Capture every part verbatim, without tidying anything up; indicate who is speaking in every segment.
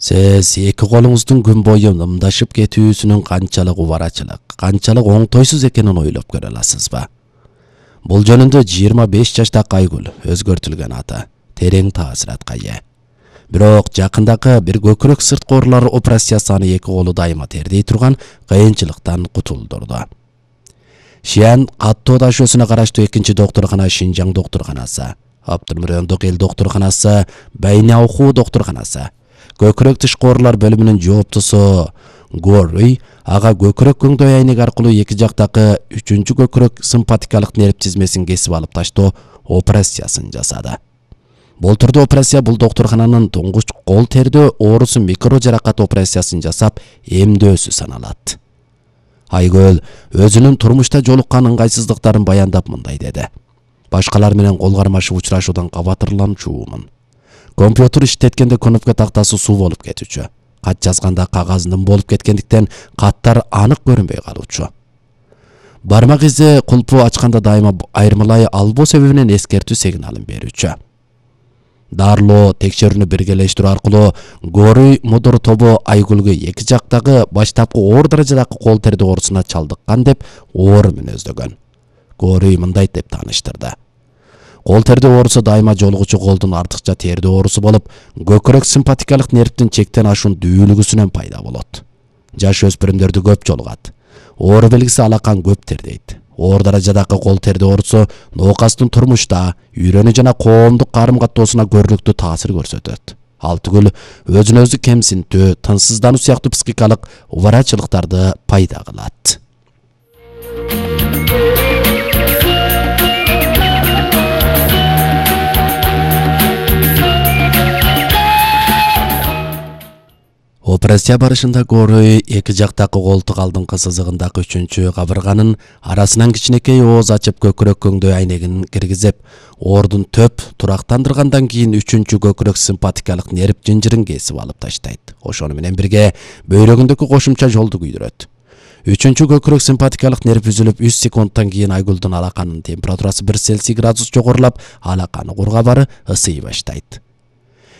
Speaker 1: Сиз эки колуңуздун күн бою нымдашып кетүүсүнүн канчалык убарачылык, канчалык оңтойсуз экенин ойлоп көрө аласызбы? Бул жөнүндө жыйырма беш жаштагы Айгүл өзгөртүлгөн аты терең таасиратка ээ. Бирок жакындагы бир көкүрөк сырткы оорулар операциясы аны эки колу дайыма тердей турган кыйынчылыктан кутулдурду. Шиан каттоо дашөсүнө караштуу экинчи доктуркана Шинжаң доктурканасы, Абдулмурондук эл доктурканасы, Байнауку доктурканасы, көкүрөк тышкы оорулар бөлүмүнүн жооптусу Горый ага көкүрөк көңдөй айнеги аркылуу эки жактагы үчүнчү көкүрөк симпатикалык нерв тизмесин кесип алып таштоо операциясын жасады. Болтурду операция бул доктуркананын туңгуч кол тердөө оорусу микро жаракат операциясын жасап эмдөөсү саналат. Айгүл өзүнүн турмушта жолуккан ыңгайсыздыктарын баяндап мындай деди. Башкалар менен кол кармашып учурашуудан кабатырланчумун. Компьютер иштеткенде кнопка тактасы суу болуп кетүүчү. Кат жазганда кагаз ным болуп кеткендиктен каттар анык көрүнбөй калуучу. Бармак изи кулпу ачканда дайыма айырмалай албоо себебинен эскертүү сигналын берүүчү. Дарылоо текшерүүнү биргелештирүү аркылуу Горый мудур тобу Айгүлгө эки жактагы баштапкы оор даражадагы кол тердөө оорусуна чалдыккан деп оор мүнөздөгөн. Горый мындай деп тааныштырды. Кол тердөө оорусу дайыма жолугучу колдун артыкча тердөө оорусу болуп, көкүрөк симпатикалык нервдин чектен ашуун дүүлүгүсүнөн пайда болот. Жаш өспүрүмдөрдө көп жолугат. Оору белгиси алакан көп тердейт. Оор даражадагы кол тердөө оорусу ноокастын турмушта, үйрөнүү жана коомдук карым каттоосуна көрүнүктүү таасир көрсөтөт. Ал түгүл өзүн өзү кемсинтүү, тынчсыздануу сыяктуу психикалык убарачылыктарды пайда кылат. Операция барышында Горый эки жактагы колтук алдыңкы сызыгындагы үчүнчү кабырганын арасынан кичинекей ооз ачып көкүрөк көңдөй айнегин киргизип, оордун төп турактандыргандан кийин үчүнчү көкүрөк симпатикалык нерв жынжырын кесип алып таштайт. Ошону менен бирге бөйрөгүндөгү кошумча жолду күйдүрөт. Үчүнчү көкүрөк симпатикалык нерв үзүлүп үч секундтан кийин Айгүлдүн алаканын температурасы бир Цельсий градус жогорулап, алаканы кургабары ысый баштайт.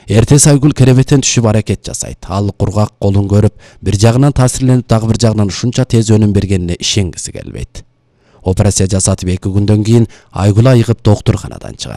Speaker 1: Эртеси Айгүл керебеттен түшүп аракет жасайт. Ал кургак колун көрүп, бир жагынан таасирленип, дагы бир жагынан ушунча тез өнүм бергенине ишенгиси келбейт. Операция жасатып эки күндөн кийин Айгүл айыгып доктурканадан чыгат.